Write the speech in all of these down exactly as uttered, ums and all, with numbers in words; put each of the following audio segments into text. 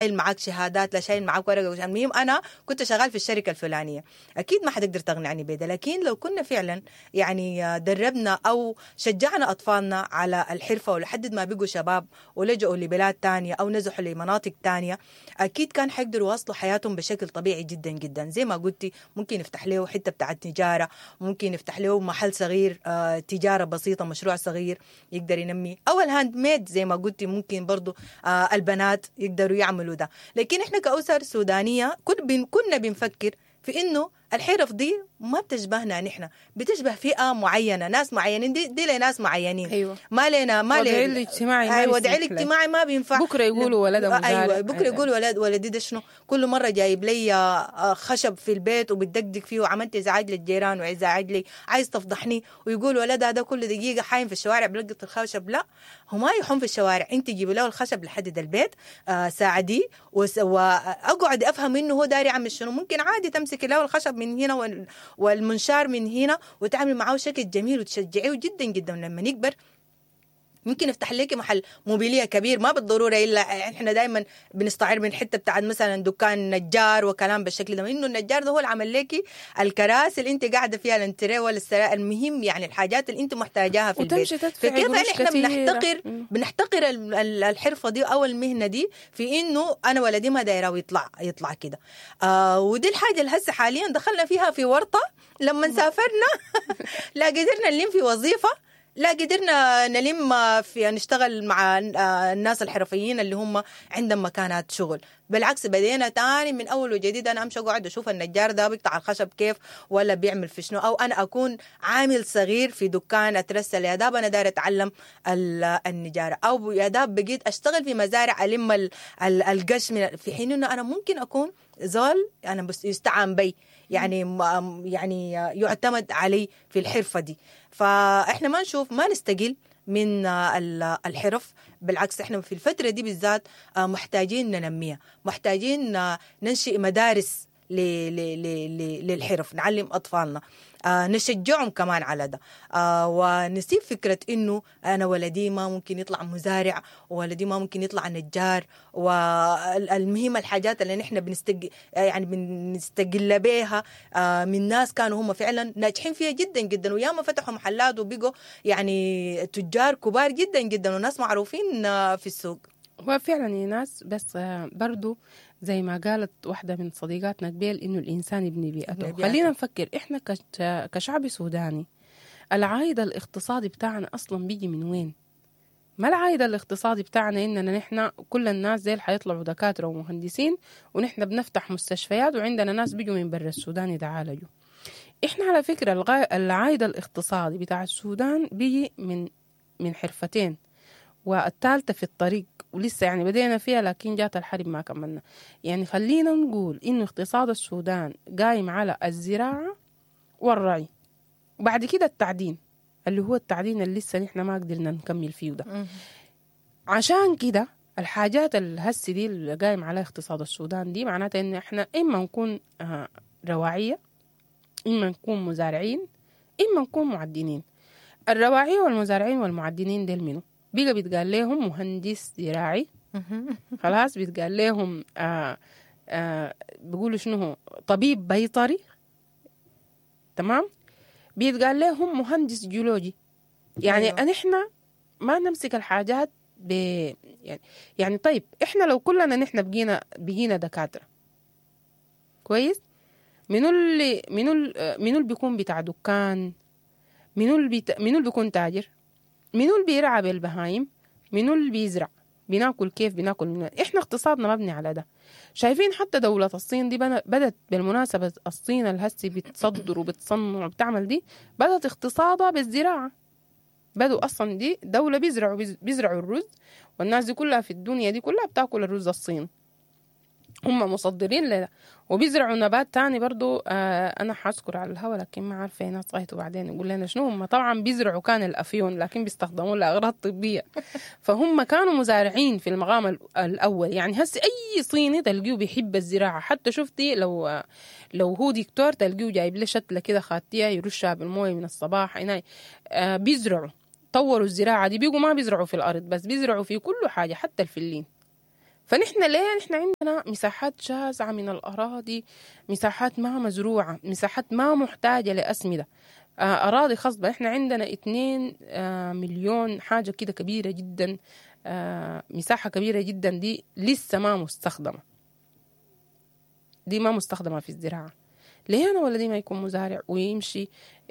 معاك شهادات، لا شايل معاك ورقة. المهم انا كنت شغال في الشركة الفلانية، اكيد ما حتقدر تقنعني بده. لكن لو كنا فعلا يعني دربنا او شجعنا اطفالنا على الحرفة ولحد ما بقوا شباب ولجؤوا لبلاد تانية او نزحوا لمناطق تانية، اكيد كان حيقدروا يواصلوا حياتهم بشكل طبيعي جدا جدا. زي ما قلتي ممكن يفتح له حتة بتاعت تجارة، ممكن يفتح له محل صغير، آه تجارة بسيطة، مشروع صغير يقدر ينمي، او ال handmade زي ما قلتي ممكن برضو آه البنات يقدروا يعملوا ده. لكن احنا كأسر سودانيه كنا بنفكر في انه الحرف دي ما بتشبهنا نحن، بتشبه فئة معينة، ناس معينين، دي, دي لناس معينين. ايوه ما لنا ما وضعي الاجتماعي. ايوه وضعي الاجتماعي ما بينفع. بكره يقولوا ولده مزارع. ايوه بكره يقولوا ولد ولدي ده شنو، كل مرة جايب لي خشب في البيت وبتدقدق فيه وعملت ازعاج للجيران وازعاج لي، عايز تفضحني، ويقول ولدها ده كل دقيقة حايم في الشوارع بلقط الخشب. لا، هو ما يحوم في الشوارع، انت جيبي له الخشب لحد البيت، آه ساعديه واقعد افهم انه هو داري يعمل شنو. ممكن عادي تمسكي له الخشب من هنا والمنشار من هنا وتعمل معاه شكل جميل وتشجعيه جدا جدا. لما يكبر ممكن يفتح لك محل موبيليه كبير، ما بالضرورة الا احنا دائما بنستعير من حتة بتاعت مثلا دكان نجار وكلام بالشكل ده، انه النجار ده هو اللي عمل لك الكراسي اللي انت قاعدة فيها، الانتريه ولا السراء، المهم يعني الحاجات اللي انت محتاجاها في البيت. فكيف احنا بنحتقر بنحتقر الحرفة دي او المهنة دي في انه انا ولدي ما دايرة يطلع يطلع كده. آه ودي الحاجة اللي هسه حاليا دخلنا فيها في ورطة لما سافرنا لا قدرنا نلم في وظيفة، لا قدرنا نلم في نشتغل مع الناس الحرفيين اللي هم عندهم مكانات شغل. بالعكس بدينا تاني من اول وجديد، انا امشي اقعد اشوف النجار ده بيقطع الخشب كيف ولا بيعمل في شنو، او انا اكون عامل صغير في دكان اترسل يا داب انا داير اتعلم النجاره، او يا داب بقيت اشتغل في مزارع الم القش، من في حين انه انا ممكن اكون زول انا بس يستعان بي، يعني يعني يعتمد علي في الحرفة دي. فاحنا ما نشوف ما نستقل من الحرف، بالعكس احنا في الفترة دي بالذات محتاجين ننميها، محتاجين ننشئ مدارس للحرف، نعلم أطفالنا، نشجعهم كمان على ده، ونسيب فكرة إنه أنا ولدي ما ممكن يطلع مزارع، وولدي ما ممكن يطلع نجار، والمهم الحاجات اللي نحن بنستج يعني بنستقل بيها من ناس كانوا هم فعلا ناجحين فيها جدا جدا، وياما فتحوا محلات وبقوا يعني تجار كبار جدا جدا وناس معروفين في السوق. هو فعلا يا ناس، بس برضو زي ما قالت واحدة من صديقاتنا قبل إنه الإنسان يبني بيئته. خلينا نفكر إحنا كشعب سوداني العائد الاقتصادي بتاعنا أصلا بيجي من وين؟ ما العائد الاقتصادي بتاعنا إننا نحن كل الناس زي اللي حيطلعوا دكاترة ومهندسين، ونحن بنفتح مستشفيات وعندنا ناس بيجوا من برا السودان يتعالجوا. إحنا على فكرة العائد الاقتصادي بتاع السودان بيجي من من حرفتين، والثالثة في الطريق ولسه يعني بدينا فيها لكن جات الحرب ما كملنا. يعني خلينا نقول إنه اقتصاد السودان قايم على الزراعة والرعي، وبعد كده التعدين اللي هو التعدين اللي لسه نحن ما قدرنا نكمل فيه ده. عشان كده الحاجات الهسي دي اللي قايم على اقتصاد السودان دي معناتها إن إحنا إما نكون رواعية، إما نكون مزارعين، إما نكون معدنين. الرواعية والمزارعين والمعدنين ديل منو؟ بيقى بيتقال لهم مهندس زراعي، خلاص بيتقال لهم آآ آآ بيقولوا شنو هو طبيب بيطري، تمام، بيتقال لهم مهندس جيولوجي. يعني أيوة. نحن ما نمسك الحاجات ب يعني يعني طيب احنا لو كلنا نحن بقينا بقينا دكاترة كويس، منو اللي منو منو اللي بيكون بتاع دكان، منو اللي بيت... منو اللي بيكون تاجر، منو اللي بيرعى بالبهايم، منو اللي بيزرع، بناكل كيف، بناكل من... احنا اقتصادنا مبني على ده. شايفين حتى دولة الصين دي بدت بالمناسبة، الصين الهسي بتصدر وبتصنع وبتعمل دي، بدت اقتصادها بالزراعة. بدوا اصلا دي دولة بيزرعوا بيزرعوا الرز، والناس دي كلها في الدنيا دي كلها بتاكل الرز الصيني، هم مصدرين لده. وبيزرعوا نبات تاني برضو، آه أنا حأذكر على الهوا لكن ما عارفة ناس غايته بعدين يقول لنا شنو هم. طبعا بيزرعوا كان الأفيون لكن بيستخدموه لأغراض طبية، فهم كانوا مزارعين في المقام الأول. يعني هسي أي صيني تلقيه بيحب الزراعة، حتى شفتي لو لو هو دكتور تلقيه جايب له شتلة كده خاتية يرشها بالموية من الصباح هنا. آه بيزرعوا، طوروا الزراعة دي، بيقوا ما بيزرعوا في الأرض بس، بيزرعوا في كل حاجة حتى الفلين. فنحن ليه نحن عندنا مساحات شاسعة من الأراضي، مساحات ما مزروعة، مساحات ما محتاجة لأسمدة، أراضي خصبة. إحنا عندنا اتنين مليون حاجة كده كبيرة جدا، مساحة كبيرة جدا دي لسه ما مستخدمة، دي ما مستخدمة في الزراعة. ليه أنا ولدي ما يكون مزارع ويمشي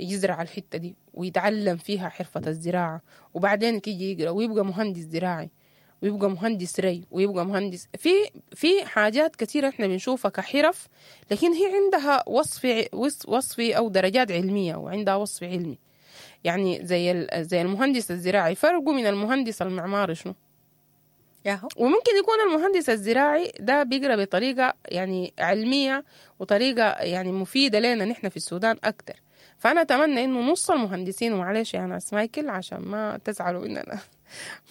يزرع الحتة دي ويتعلم فيها حرفة الزراعة، وبعدين يجي يقرأ ويبقى مهندس زراعي ويبقى مهندس ري ويبقى مهندس في في حاجات كثيرة احنا بنشوفها كحرف، لكن هي عندها وصف وصف او درجات علمية وعندها وصف علمي. يعني زي زي المهندس الزراعي فرقه من المهندس المعماري شنو؟ ياهو. وممكن يكون المهندس الزراعي ده بيقرأ بطريقة يعني علمية وطريقة يعني مفيدة لنا نحن في السودان أكتر. فأنا أتمنى إنه نص المهندسين، ومعلش يا ناس مايكل عشان ما تزعلوا إننا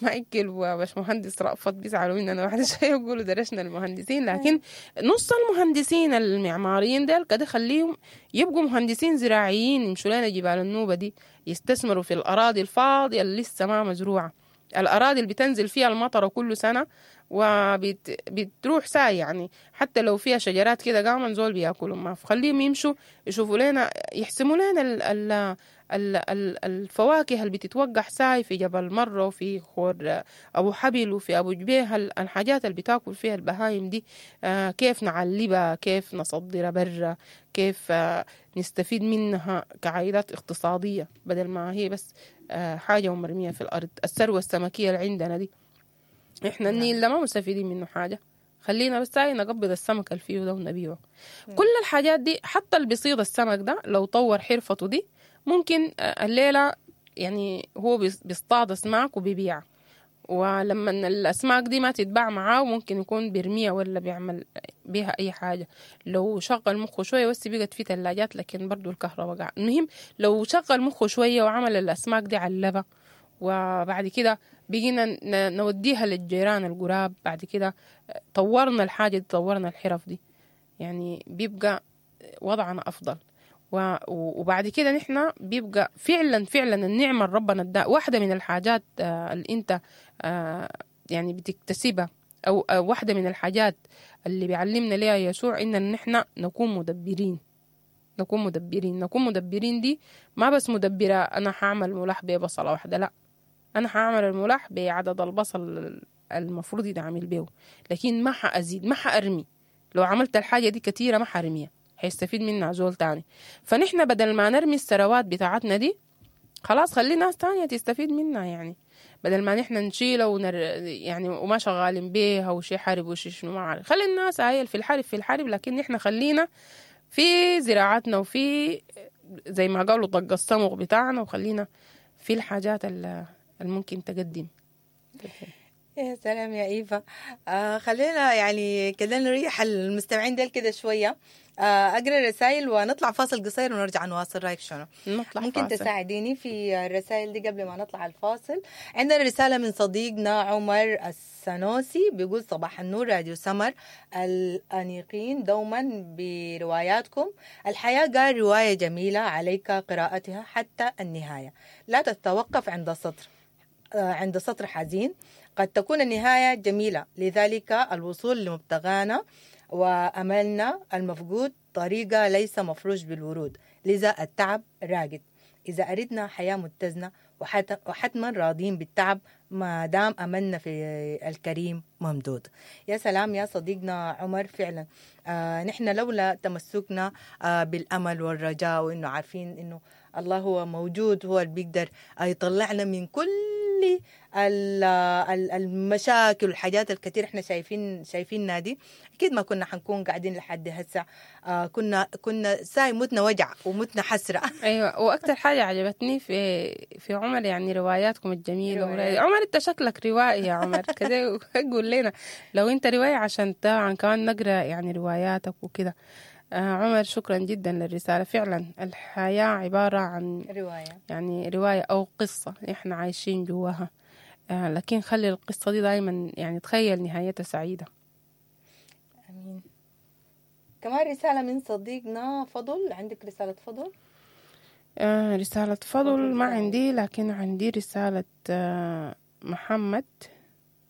مايكل وباش مهندس رأفت بيزعلوا مننا بعد شوية يقولوا درسنا المهندسين، لكن نص المهندسين المعماريين ديل كده خليهم يبقوا مهندسين زراعيين، يمشوا لنا جبال النوبة دي، يستثمروا في الأراضي الفاضية اللي لسه ما مزروعة، الأراضي اللي بتنزل فيها المطر كل سنة وبتروح ساي، يعني حتى لو فيها شجرات كده قامن زول بياكلوا ما، فخليهم يمشوا يشوفوا لنا، يحسموا لنا ال ال ال ال الفواكه اللي بتتوقع ساي في جبل مرة وفي خور أبو حبل وفي أبو جبيه، الحاجات اللي بتاكل فيها البهايم دي، آه كيف نعلبها، كيف نصدرها برا، كيف آه نستفيد منها كعائدات اقتصادية بدل ما هي بس آه حاجة ومرمية في الأرض. الثروة السمكية اللي عندنا دي احنا النيل ده ما مستفيدين منه حاجة، خلينا بس هاي نقبض السمك اللي فيه ده ونبيعه. كل الحاجات دي، حتى اللي بيصيد السمك ده لو طور حرفته دي ممكن الليلة يعني هو بيصطاد أسماك وبيبيع، ولما الأسماك دي ما تتباع معاه ممكن يكون بيرميها ولا بيعمل بيها أي حاجة. لو شغل مخه شوية، بس بقت في ثلاجات لكن برضو الكهرباء قاع. المهم لو شغل مخه شوية وعمل الأسماك دي علبة، وبعد كده بقينا نوديها للجيران القراب، بعد كده طورنا الحاجة دي، طورنا الحرف دي، يعني بيبقى وضعنا أفضل. وبعد كده نحن بيبقى فعلا فعلا النعمة ربنا اداها. واحدة من الحاجات اللي انت يعني بتكتسبها، او واحدة من الحاجات اللي بيعلمنا ليها يسوع، ان نحن نكون مدبرين، نكون مدبرين، نكون مدبرين. دي ما بس مدبرة انا هعمل ملاح ببصلة واحدة، لا، انا هعمل الملاح بعدد البصل المفروض يتعمل بيه، لكن ما حأزيد، ما حأرمي. لو عملت الحاجة دي كثيرة ما حرميها، هيستفيد منها زول تاني. فنحن بدل ما نرمي الثروات بتاعتنا دي، خلاص خلي ناس تانية تستفيد منها. يعني بدل ما نحن نشيلها ونر يعني وما شغالين بيها وشي حرب وشي شنو ما عارف، خلي الناس هاي في الحرب في الحرب، لكن نحن خلينا في زراعتنا وفي زي ما قالوا طق الصمغ بتاعنا، وخلينا في الحاجات اللي ممكن تقدم. يا سلام يا إيفا. آه خلينا يعني كده نريح المستمعين ديل كده شوية. آه أقرأ الرسائل ونطلع فاصل قصير ونرجع نواصل. رأيك شنو؟ نطلع ممكن فاصل. تساعديني في الرسائل دي قبل ما نطلع الفاصل؟ عندنا رسالة من صديقنا عمر السنوسي، بيقول صباح النور راديو سمر الأنيقين دوما برواياتكم. الحياة قال رواية جميلة، عليك قراءتها حتى النهاية، لا تتوقف عند سطر عند سطر حزين، قد تكون النهاية جميلة، لذلك الوصول لمبتغانا وأملنا المفقود طريقة ليس مفروش بالورود، لذا التعب راقد. إذا أردنا حياة متزنة وحتما راضين بالتعب ما دام أملنا في الكريم ممدود. يا سلام يا صديقنا عمر، فعلا آه نحن لولا تمسكنا آه بالأمل والرجاء، وإنه عارفين إنه الله هو موجود، هو اللي بيقدر يطلعنا من كل المشاكل والحاجات الكثير احنا شايفين شايفينها دي، اكيد ما كنا حنكون قاعدين لحد هسه. آه كنا كنا ساي متنا وجع ومتنا حسرة. ايوه، واكثر حاجة عجبتني في في عمر يعني رواياتكم الجميلة. روايات. عمر انت شكلك روائي يا عمر كده، قول لنا لو انت رواية عشان طبعا كمان نقرا يعني رواياتك وكده. آه عمر شكرا جدا للرسالة. فعلا الحياة عبارة عن رواية، يعني رواية أو قصة إحنا عايشين جواها، آه لكن خلي القصة دي دايما يعني تخيل نهايتها سعيدة. أمين. كمان رسالة من صديقنا فضل. عندك رسالة فضل؟ آه رسالة فضل ما عندي، لكن عندي رسالة آه محمد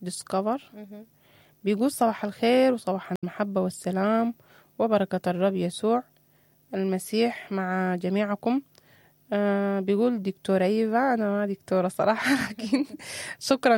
ديسكفر. بيقول صباح الخير وصباح المحبة والسلام وبركة الرب يسوع المسيح مع جميعكم. آه بيقول دكتورة إيفا، أنا ما دكتورة صراحة لكن شكرا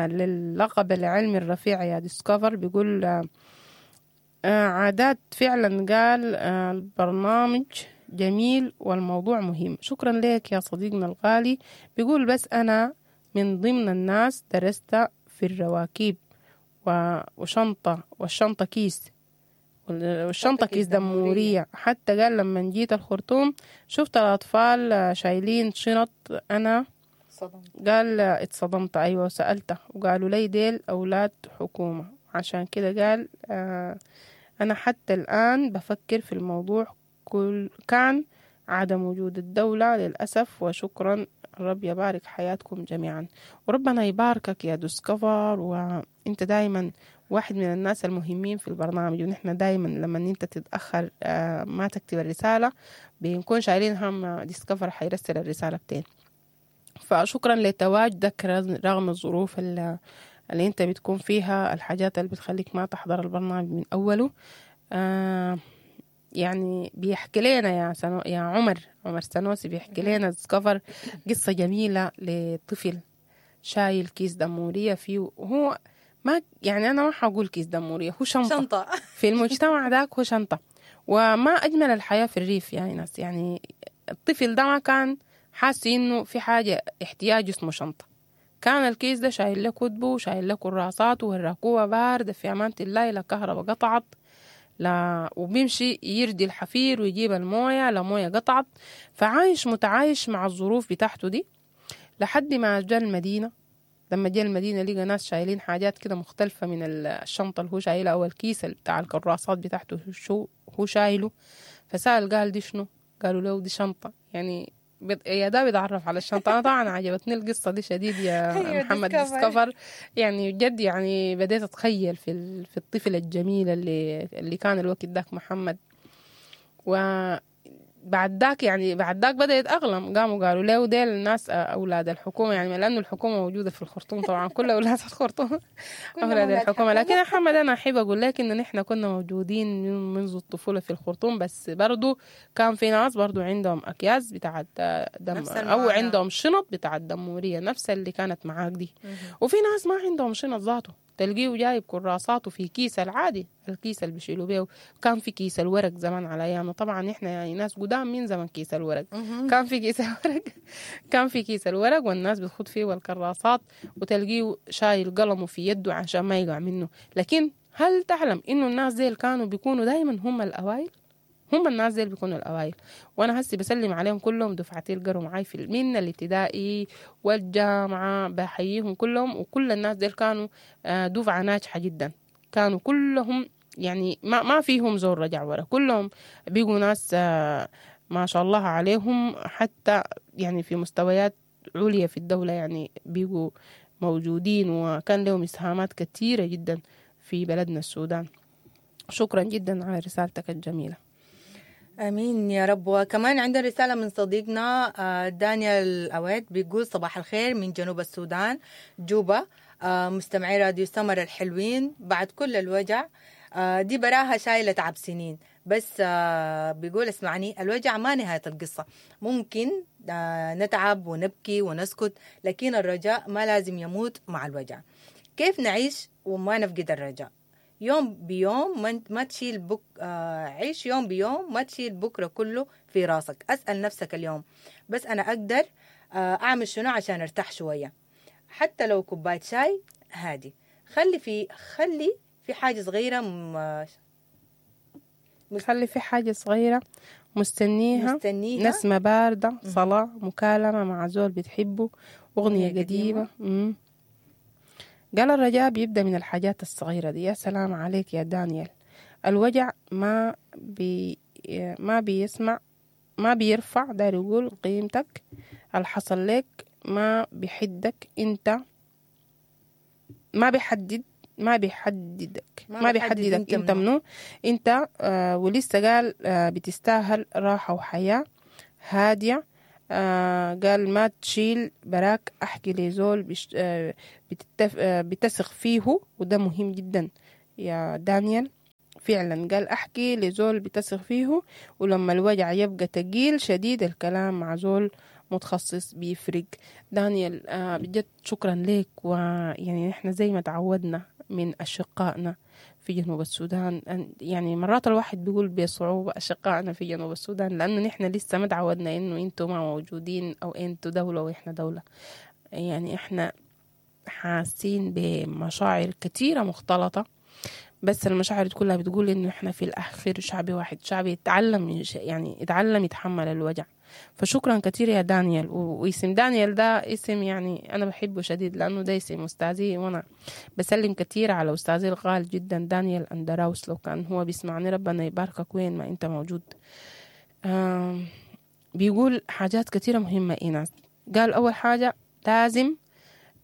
للقب العلمي الرفيع يا ديسكفر. بيقول آه عادات فعلا، قال آه البرنامج جميل والموضوع مهم. شكرا لك يا صديقنا الغالي. بيقول بس أنا من ضمن الناس درست في الرواكيب وشنطة والشنطة كيس والشنطة كيس دمورية، حتى قال لما جيت الخرطوم شفت الأطفال شايلين شنط أنا صدمت. قال اتصدمت، أيوة، وسألته وقالوا لي ديل أولاد حكومة. عشان كده قال آه أنا حتى الآن بفكر في الموضوع، كل كان عدم وجود الدولة للأسف. وشكرا، الرب يبارك حياتكم جميعا. وربنا يباركك يا ديسكفر، وانت دايما واحد من الناس المهمين في البرنامج، ونحن دايما لما انت تتأخر ما تكتب الرسالة بنكون شايلين هم ديسكفر حيرسل الرسالة بتين. فشكرا لتواجدك رغم الظروف اللي, اللي انت بتكون فيها، الحاجات اللي بتخليك ما تحضر البرنامج من أوله. آه يعني بيحكي لنا يا سنو يا عمر عمر سنوسي بيحكي لنا ديسكفر قصة جميلة لطفل شايل كيس دمورية فيه، وهو ما يعني أنا ما حقول كيس دمورية، هو شنطة, شنطة. في المجتمع ذاك هو شنطة. وما أجمل الحياة في الريف يعني ناس، يعني الطفل ده ما كان حاسس إنه في حاجة احتياج اسمه شنطة، كان الكيس ده شايل له كتبه وشايل له كراساته والراكوبة باردة في أمانة الله، لا كهرباء قطعت لا، وبيمشي يردي الحفير ويجيب الموية، لا موية قطعت. فعايش متعايش مع الظروف بتاعته دي لحد ما جاء المدينة. لما جاء المدينة لقى ناس شايلين حاجات كده مختلفة من الشنطة اللي هو شايلها أو الكيس بتاع الكراسات بتاعته شو هو شايله. فسأل قال دي شنو؟ قالوا له دي شنطة. يعني يا ده بيتعرف على الشنطة. أنا طبعا عجبتني القصة دي شديد يا محمد ديسكفر، يعني جد يعني بديت أتخيل في في الطفل الجميل اللي اللي كان الوقت داك محمد. وبعد ذاك يعني بعد ذاك بدأ يتأقلم، قاموا قالوا له ديل الناس أولاد الحكومة، يعني لأنه الحكومة موجودة في الخرطوم طبعا، كل أولاد الخرطوم أولاد الحكومة. لكن يا محمد أنا أحب أقول لك إنه نحن كنا موجودين منذ الطفولة في الخرطوم، بس برضو كان في ناس برضو عندهم أكياس بتاعت دم أو عندهم شنط بتاعت دمورية نفس اللي كانت معاك دي، وفي ناس ما عندهم شنط ذاته، تلقيه جايب كراساته في كيس العادي، الكيس اللي بيشيلوا بيه. كان في كيس الورق زمان على ايامنا، طبعا احنا يعني ناس قدام من زمن كيس الورق، كان في كيس الورق كان في كيس الورق والناس بتخد فيه والكراسات، وتلقيه شايل قلمه في يده عشان ما يقع منه. لكن هل تعلم انه الناس ديل كانوا بيكونوا دايما هم الاوائل؟ هم الناس ديل بيكونوا الأوائل. وأنا هسي بسلم عليهم كلهم، دفعتي القروا معاي في من الابتدائي والجامعة، بحييهم كلهم. وكل الناس ديل كانوا دفعة ناجحة جدا، كانوا كلهم يعني ما ما فيهم زور رجع ورا، كلهم بيقوا ناس ما شاء الله عليهم، حتى يعني في مستويات عليا في الدولة يعني بيقوا موجودين، وكان لهم إسهامات كثيرة جدا في بلدنا السودان. شكرا جدا على رسالتك الجميلة. امين يا رب. وكمان عندنا رسالة من صديقنا دانيال أويد، بيقول صباح الخير من جنوب السودان جوبا، مستمعي راديو سمر الحلوين، بعد كل الوجع دي براها شايله تعب سنين، بس بيقول اسمعني، الوجع ما نهاية القصة، ممكن نتعب ونبكي ونسكت، لكن الرجاء ما لازم يموت مع الوجع. كيف نعيش وما نفقد الرجاء؟ يوم بيوم ما تشيل بك آه عيش يوم بيوم، ما تشيل بكرة كله في راسك. أسأل نفسك اليوم بس أنا أقدر آه أعمل شنو عشان أرتاح شوية، حتى لو كوباية شاي هادي. خلي في خلي في حاجة صغيرة م... خلي في حاجة صغيرة مستنيها, مستنيها. نسمة باردة، صلاة، مكالمة مع زول بتحبه، أغنية قديمة. مم. قال الرجاء بيبدأ من الحاجات الصغيرة دي. يا سلام عليك يا دانيال. الوجع ما بي ما بيسمع، ما بيرفع، داير يقول قيمتك، الحصل لك ما بيحدك انت، ما بيحدد ما بيحددك ما, ما بيحددك انت, انت منو انت. آه ولسه قال آه بتستاهل راحة وحياة هادية. آه قال ما تشيل براك، احكي لزول بش آه بتتف آه بتثق فيه، وده مهم جدا يا دانيال فعلا. قال احكي لزول بتثق فيه، ولما الوجع يبقى تقيل شديد الكلام مع زول متخصص بيفرق. دانيال آه بجد شكرا لك. ويعني احنا زي ما تعودنا من أشقائنا في جنوب السودان، يعني مرات الواحد بيقول بصعوبة أشقائنا في جنوب السودان، لأنه نحن لسه ما تعودنا إنه أنتوا ما موجودين أو أنتوا دولة وإحنا دولة. يعني إحنا حاسين بمشاعر كثيرة مختلطة، بس المشاعر كلها بتقول إنه إحنا في الأخير شعب واحد، شعب يتعلم يعني يتعلم يتحمل الوجع. فشكرا كثير يا دانيال. واسم دانيال ده اسم يعني أنا بحبه شديد، لأنه ده اسم أستاذي، وأنا بسلم كثير على أستاذي الغالي جدا دانيال أندراوس، لو كان هو بيسمعني ربنا يباركك وين ما أنت موجود. بيقول حاجات كثيرة مهمة إيناس. قال أول حاجة لازم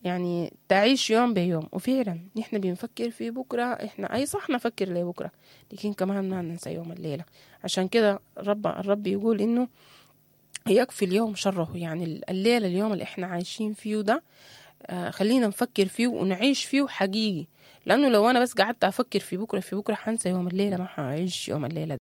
يعني تعيش يوم بيوم، وفعلا نحن بنفكر في بكرة، إحنا أي صح نفكر لبكرة، لكن كمان ما ننسى يوم الليلة. عشان كده الرب الرب يقول إنه يكفي اليوم شره، يعني الليلة اليوم اللي إحنا عايشين فيه ده آه خلينا نفكر فيه ونعيش فيه حقيقي، لأنه لو أنا بس قعدت أفكر في بكرة في بكرة حنسى يوم الليلة، ما حعيش يوم الليلة.